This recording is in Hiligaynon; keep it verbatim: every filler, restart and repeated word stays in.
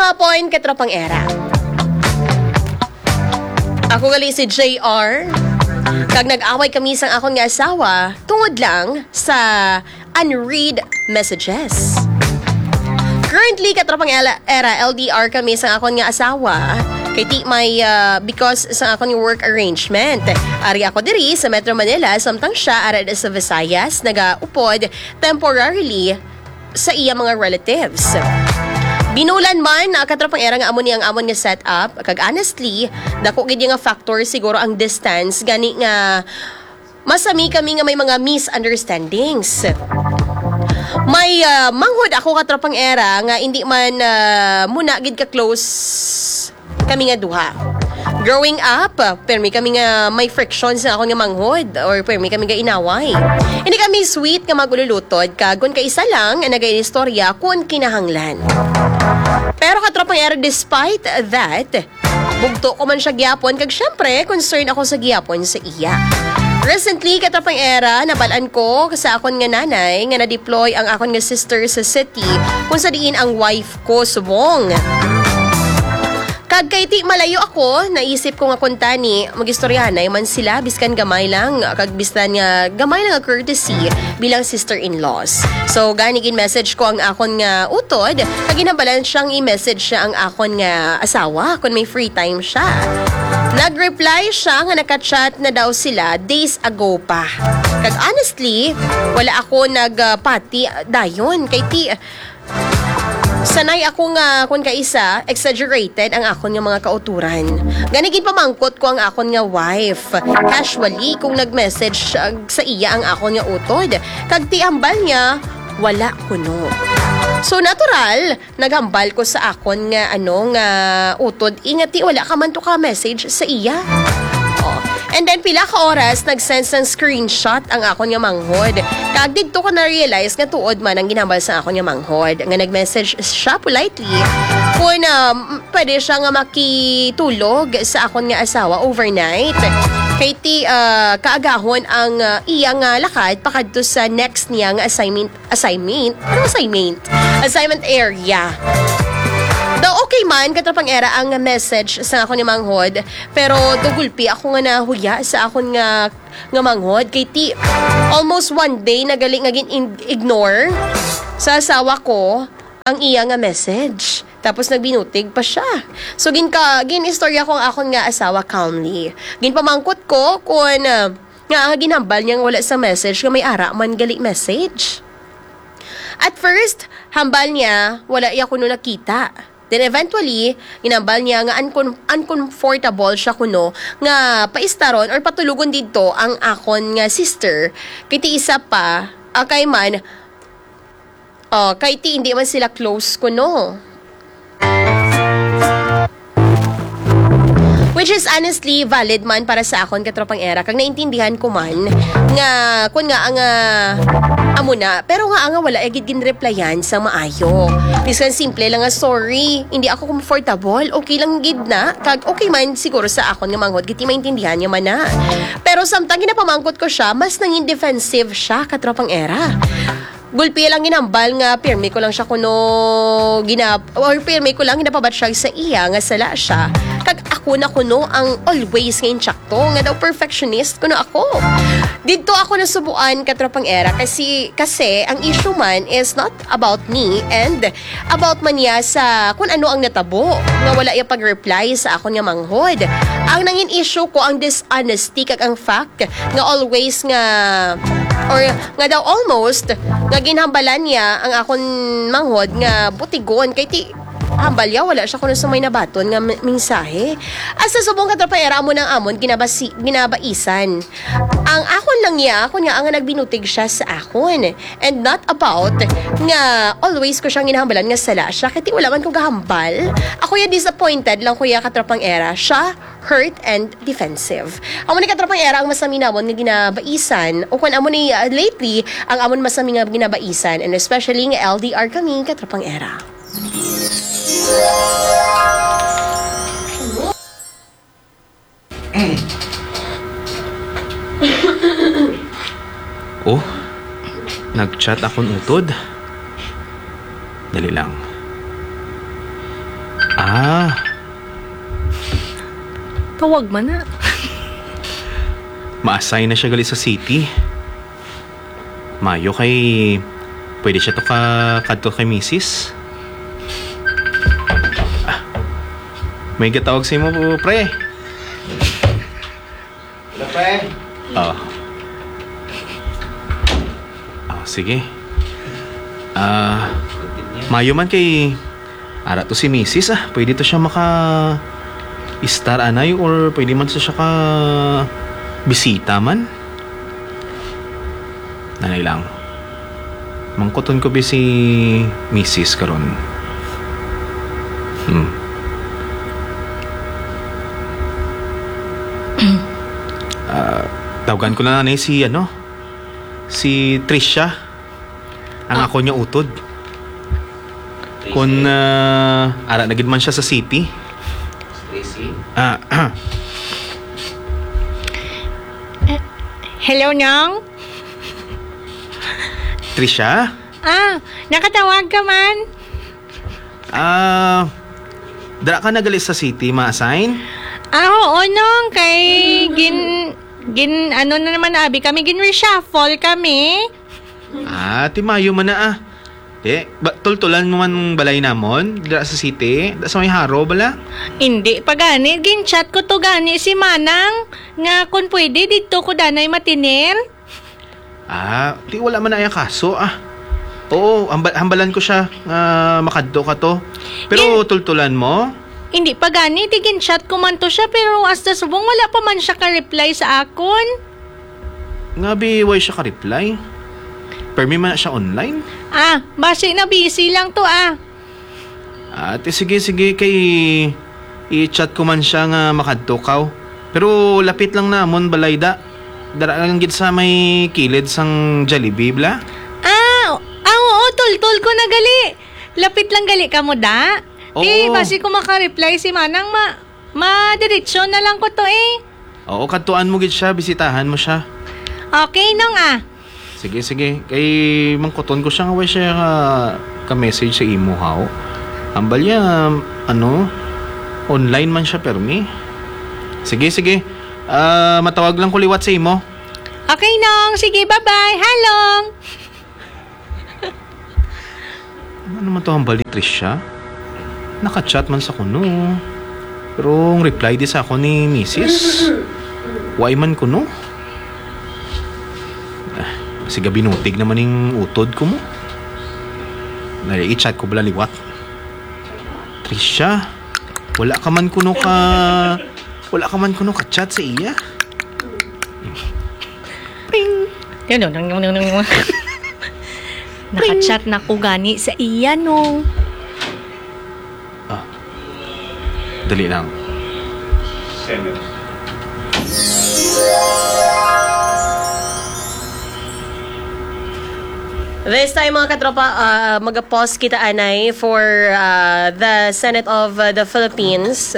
Hapon, katropang era. Ako gali si J R. Kag nag-away kami sang akon nga asawa tungod lang sa unread messages. Currently, katropang era, era, L D R kami sa akon nga asawa. Kay ti may, ah, because sa akon nga work arrangement. Ari ako diri sa Metro Manila, samtang siya ara sa Visayas, nagaupod temporarily sa iya mga relatives. Binulan man, ah, katropang era, nga amo ni ang amon nga setup. Kag honestly, dako gid nga factor siguro ang distance, gani nga masami kami nga may mga misunderstandings. May, ah, manghod ako, katropang era, nga hindi man, ah, muna gid ka close kami nga duha. Growing up, ah, permi kami nga may friction sa akon nga manghod or permi kami nga inaway. Hindi kami sweet nga magululutod, kag kun kaisa lang ang nagaistorya kun kinahanglan. Pero, katropang era, despite that, bugto ko man siya gihapon, kag syempre, concern ako sa gihapon sa iya. Recently, katropang era, nabalaan ko sa akon nga nanay nga na-deploy ang akon nga sister sa city kung sa diin ang wife ko subong. Kag kay ti malayo ako, naisip ko nga kuntani, mag-istoryahanay man sila, biskan gamay lang, kag biskan nga gamay lang nga courtesy bilang sister-in-laws. So, gani gin-message ko ang akon nga utod, kag ginhambalan siyang i-message siya ang akon nga asawa kung may free time siya. Nag-reply siya nga naka-chat na daw sila days ago pa. Kag honestly, wala ako nagpati dayon. Kay ti, sanay ako nga, kun kaisa, exaggerated ang akon nga mga kauturan. Gani, ginpamangkot ko ang akon nga wife casually kung nag-message, uh, sa iya ang akon nga utod. Kag ti hambal niya, wala kuno. So, natural, naghambal ko sa akon nga, ano, nga utod, ingati wala ka man to ka-message sa iya. Oh. And then, pila ka oras, nag-send sang screenshot ang akon nga manghod. Kag didto ko na-realize nga tuod man ang ginhambal sa akon nga manghod, nga nag-message siya politely kung, um, pwede siya nga makitulog sa akon nga asawa overnight. Kay ti, ah, kaagahon ang, ah, iya nga lakad pakadto sa next niya nga assignment, assignment? Ano assignment? Assignment area. Daw okay man, katropang era, ang message sa akon nga manghod, pero daw gulpi ako nga nahuya sa akon nga, nga manghod. Kay ti, almost one day na gali nga gin-ignore sa asawa ko ang iya nga message. Tapos nagbinutig pa siya. So, ginka-, gin-istorya ko ang akon nga asawa calmly. Ginpamangkot ko kung, ah, nga ang ginhambal niya nga wala sa message, nga may ara man gali message. At first, hambal niya, wala iya kuno nakita. Then eventually, ginhambal niya nga uncom-, uncomfortable siya kuno nga paistaron or patulogon didto ang akon nga sister. Kay ti isa pa, akay man, oh, kay ti hindi man sila close kuno. Which is honestly valid man para sa akon, katropang era, kag naintindihan ko man nga kun nga ang, ah, amo na, pero nga ang wala gid ginreplyan sa maayo. Bisan simple lang nga sorry, hindi ako comfortable, okay lang gid na, kag okay man siguro sa akon nga manghod, kay ti maintindihan niya man na. Pero samtang ginapamangkot ko siya, mas nangin defensive siya, katropang era. Gulpi lang ginambal nga pirmi ko lang siya kuno gina-, or pirmi ko lang ginapabatsyag sa iya nga sala siya. Kag ako na kuno ang always nga intsakto, nga daw perfectionist kuno ako. Didto ako nasubuan, katropang era, kasi, kasi ang issue man is not about me and about man niya sa kung ano ang natabo nga wala iya pag-reply sa akon nga manghod. Ang nangin issue ko ang dishonesty kag ang fact nga always nga, or nga daw almost, nga ginhambalan niya ang akon manghod nga butigon, kay ti hambal niya wala siya kuno sa may nabaton nga me-, mensahe. At sa subong, katropang era, amo nang amon ginabasi-, ginabaisan. Ang akon lang niya, kun nga nga nagbinutig siya sa akon. And not about nga always ko siyang ginahambalan nga sala siya, kay ti wala man ko gahambal. Ako ya disappointed lang ko ya, katropang era. Siya hurt and defensive. Amo ni, katropang era, ang masami namon nga ginabaisan, o kung amo ni, ah, lately, ang amon masami nga ginabaisan, and especially nga L D R kami, katropang era. Oh, nag-chat akon utod. Dali lang. Ah. Tawag man na. Ma-assign na siya gali sa city. Mayo kay pwede siya to ka kadto kay misis. Ah, may gatawag sa imo, pre. Hello, pre. Oh. Oh, sige. Ah, mayo man kay ara to si misis, ah. Pwede to siya maka-istar anay or pwede man to siya ka bisita man. Nanay lang. Mangkuton ko bi si misis karon. Hmm. Ah, tawgan ko na lang ni si, ano, si Trisha. Ang Ah. ako niya utod. Kun, ah, ara na gid man siya sa city. Tracy? Ah, Hello, Nong? Trisha? Ah, nakatawag ka man? Ah, dara ka na gali sa city, ma-assign? Ah, oo, Nong. Kay gin-, gin-, ano na naman, abi kami, gin-reshuffle kami. Ah, timayo man na, ah. Eh, ba, tultulan mo man balay namon, dira sa city, da sa may Haro bala? Hindi pa gani, gin-chat ko to gani si Manang, nga kung pwede, didto ko danay matinir. Ah, ti wala man na iya kaso, ah. Oo, hamba-, hambalan ko siya nga makadto ka to. Pero Gin- tultulan mo? Hindi pa gani, ti gin-chat ko man to siya, pero hasta subong wala pa man siya ka-reply sa akon. Nga bi, way siya ka-reply? Permi man na siya online? Ah, basi na busy lang to, ah. Ah, ti sige, sige, kay i-chat ko man siya nga makadto kaw. Pero lapit lang namon balay da. Dara lang gid sa may kilid sang Jollibee, bala. Ah, ah, oo, tultol ko na gali. Lapit lang gali kamo da. Ti, Oo. basi ko maka-reply si Manang, ma-, madiretso na lang ko to, eh. Oo, kadtuan mo gid siya, bisitahan mo siya. Okay, Nong, ah. Sige, sige. Kay mangkuton ko siya nga way siya ka, ka-message sa imo, haw. Ambal ya, ano, online man siya, permi. Sige, sige. Ah, matawag lang ko liwat sa imo. Okay, Nong. Sige, bye-bye. Halong. Ano naman to hambal ni Trisha? Naka-chat man sa kuno. Pero ang reply di sa ako ni misis. Why man kuno? Ah, siga binutig naman ning utod ko mo. Nari, i-chat ko bala liwat. Trisha, wala ka man kuno ka, wala ka man kuno ka-chat sa iya? Ping! Yan, no, no, no, no, no. Naka-chat na ko gani sa iya, no. Ah. Dali lang. This time, mga katropa, uh, mag-pause kita anay for, uh, the Senate of, uh, the Philippines.